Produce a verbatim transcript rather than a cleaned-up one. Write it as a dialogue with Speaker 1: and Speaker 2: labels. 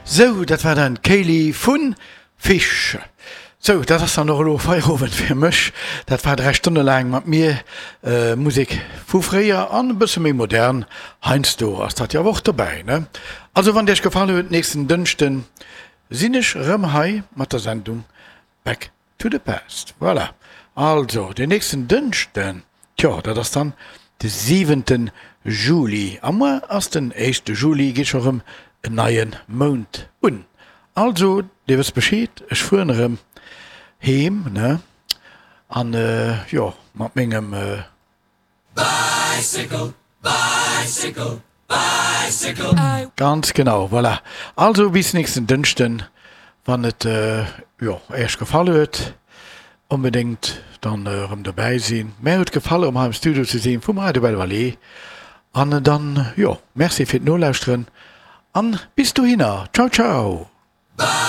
Speaker 1: Sou, dat war dann d'Kaylee vu Fish. Sou, dat ass dann och elo Feierowend fir mech. Dat war dräi Stonne laang mat mir Musek vu fréier an e bësse méi modern. Heiansdo ass dat jo awer och dobäi, ne? Also, wann et iech gefall huet, nächsten Dënschde sinn ech erëm hei mat der Sendung Back to the Past. Voilà. Also, den nächsten Dënschden, tjo, dat ass dann de siwenten Juli. A muer ass den éischte Juli, geet scho rëm en neie Mount un. Also, dir wësst Bescheed, ech fueren erëm heem, ne? An, jo, mat mengem.
Speaker 2: Bicycle, bicycle, bicycle, I.
Speaker 1: Ganz genau, voilà. Also bis nächsten Dënschden, wann et, jo, Äech gefall huet. Onbedéngt dann erëm dobäi sinn. Mär huet gefall erëm hei am Studio ze sinn vum Radio Belle Vallée. An dann, jo, Merci fir d'Nolauschteren an bis dohinner. Ciao, ciao.